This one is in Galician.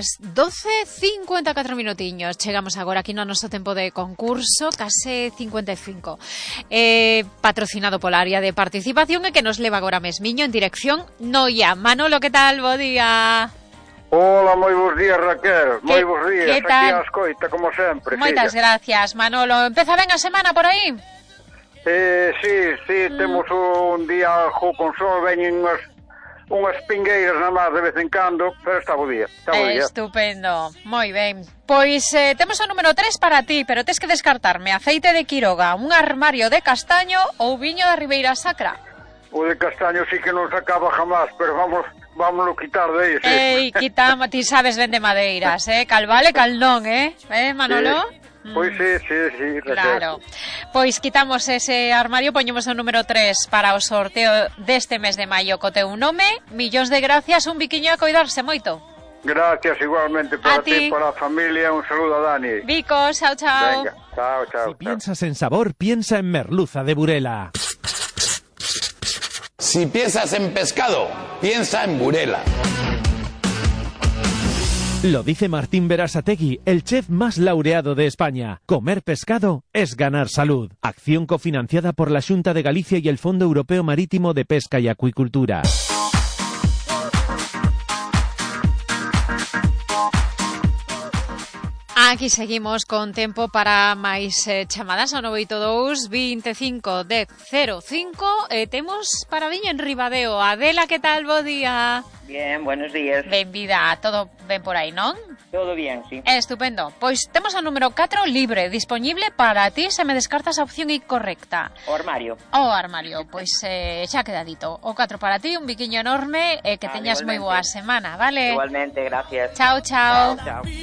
as 12:54 minutiños. Chegamos agora aquí no noso tempo de concurso, case 55. Patrocinado pola área de participación e que nos leva agora mesmiño en dirección Noia. Manolo, que tal? Bo día. Hola, moi bons días, Raquel. Moi bons días, que tal? aquí a escoita, como sempre. Moitas gracias, Manolo. Empeza ben a semana por aí? Sí, temos un día con sol, veñen unhas pingueiras na mar de vez en cando, pero está bo día. Estupendo, moi ben. Pois temos o número 3 para ti, pero tes que descartarme aceite de Quiroga, un armario de castaño ou viño da Ribeira Sacra. O de castaño sí que non se acaba jamás, pero vámonos quitar de aí, sí. Ei, quitamos, ti sabes ben de madeiras, cal vale, cal non, Manolo? Pois sí, claro. Pois quitamos ese armario, poñemos o número 3 para o sorteo deste mes de maio co teu nome. Millóns de gracias, un biquiño a coidarse moito. Gracias igualmente para ti, para a familia, un saludo a Dani. Vicos, chao. Venga, chao. Si piensas en sabor, piensa en merluza de Burela. Si piensas en pescado, piensa en Burela. Lo dice Martín Berasategui, el chef más laureado de España. Comer pescado es ganar salud. Acción cofinanciada por la Xunta de Galicia y el Fondo Europeo Marítimo de Pesca y Acuicultura. Aquí seguimos con tempo para máis chamadas ao 982 25 10 05. Temos para viña en Ribadeo. Adela, que tal? Bo día. Bien, buenos días. Benvida, todo ben por aí, non? Todo bien, sí. Estupendo. Pois temos o número 4 libre, disponible para ti se me descartas a opción incorrecta. O armario. O armario, pois xa quedadito. O 4 para ti, un biquiño enorme, que teñas moi boa semana, vale? Igualmente, gracias. Chao. Chao.